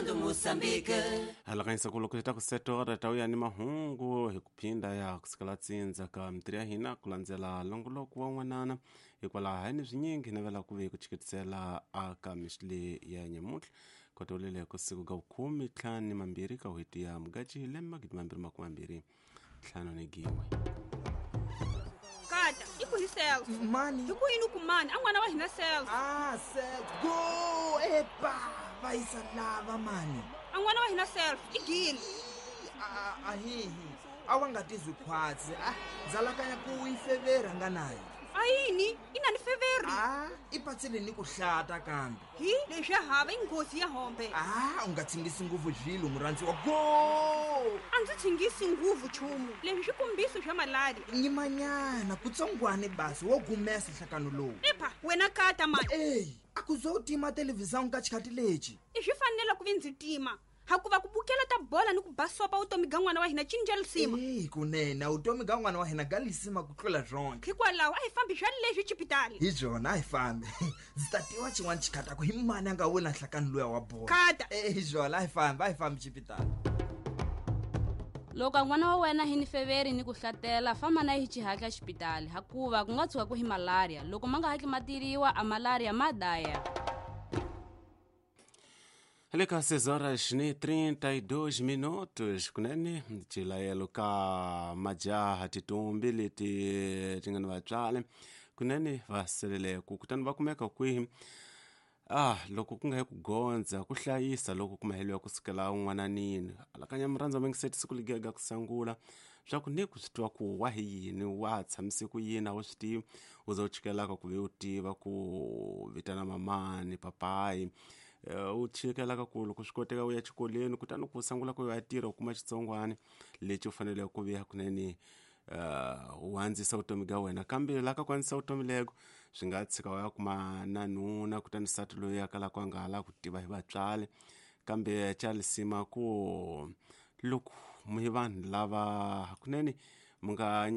Transformando Moçambique. Halakanyisa ku loko ta ku setora ta uya ni mahungu hi ku phinda ya kusukela tsindza ka mitirho ya hina ku landzela longoloko wa n'wanana hikwalaho hi ni swinyingi hi navela ku ve ku chikitisela aka mixile ya nyamuntlha kotolele ku siku ka vukhume ntlhanu ni mambirhi ka n'hweti ya mugaci hi lembe 2025. Kata i ku hi self. Mani. Hi ku yini ku mani a n'wana wa hina self? Ah, self go epa va yisa lava mani. A n'wana wa hina self i gile. Ahihi a wa nga tizwi khwatsi a dzalakanya ku yi feveri a nga nayo. A yini i na ni feveri? A i patsile ni ku hlata kambe. Hi leswi ya hava i nghozi ya hombe. A u nga tshingisi nguvu zvilo murhandziwa go. A ndzi tshingisi nguvu chumu leswi swikombiso swa malali. Nyimanyana kutsongwane basi wo gumesa nhlakano lowu. Epha wena kata mani. Eyi a ku zo u tima televhizão ka xikhati lexi. I swi fanele ku vi ndzi tima hakuva ku bukela ta bola ni ku basopa vutomi ga n'wana wa hina cinca lisima. Eyi kunene vutomi ga n'wana wa hina ga lisima ku tlula byonke. Hikwalaho a hi fambi swa leswi chipitali. Hi byona a hi fambi. Ndzi ta tiva xin'wana xikhataku hi mani a nga wina nhlakano luya wa bola. Kata. Hi byona a hi fambi, a hi fambi chipitali. Loko n'wana wa wena hi ni feveri ni ku hlatela famba na hi xihatla xipitali hakuva ku nga tshuka ku hi malaria loko ma nga hatli ma tiriwa a malaria ma daya. Le ka 6 horas ni 32 minutos kunene cilayelo ka majaha titumbi leti ti nga ni vatswari kunene va selele ku kutani va kumeka kwihi loko ku nga yi ku gondza ku hlayisa loko ku maheliwa kusukela un'wananini alakanya murhandza mingiseti siku ligega ku sangula swa ku ni ku swi twa ku wa hi yini wa tshamise ku yini a wu swi tivi u za u chikelaka ku ve u tiva ku vitana mamani papayi u chikelaka ku loko swi koteka u ya xikolweni kutani ku sungula ku ya tirha u kuma xitsongwana lexi u faneleke ku vuya kunene u andzisa vutomi bya wena kambe la ka ku andzisa vutomi leko swi nga tshika u ya kuma na nuna kutani nsati loyi a kalaka a nga ha lavi ku tiva hi vatswari kambe xa lisima ku loko mi vanhu lava hakunene mi nga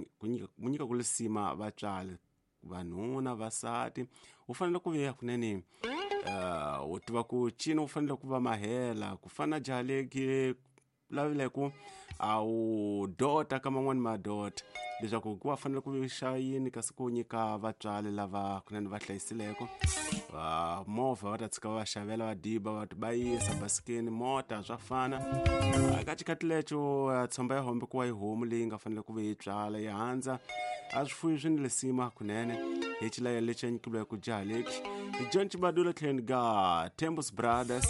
mu nyika ku lisima vatswari vanhuna vasati u fanele ku vuya kunene u tiva ku cina u fanele ku va mahela ku fana jaha leki lavile ku a wu dota ka man'wani madota leswaku ku va fanele ku xa yini kasi ku nyika vatswari lava kunene va hlayisileko va movha va ta tshika va xavela va diba va va yisa basikeni mota swa fana ka xikhathi lexo tshomba ya hombe ku wa yi homu leyi nga fanele ku ve yi tswala yi handza a swifuyi swi ni lisima kunene hi xilayelo lexi a nyikiweke ku jaha lexi hi John Chibadula tlhelo ga Temples Brothers.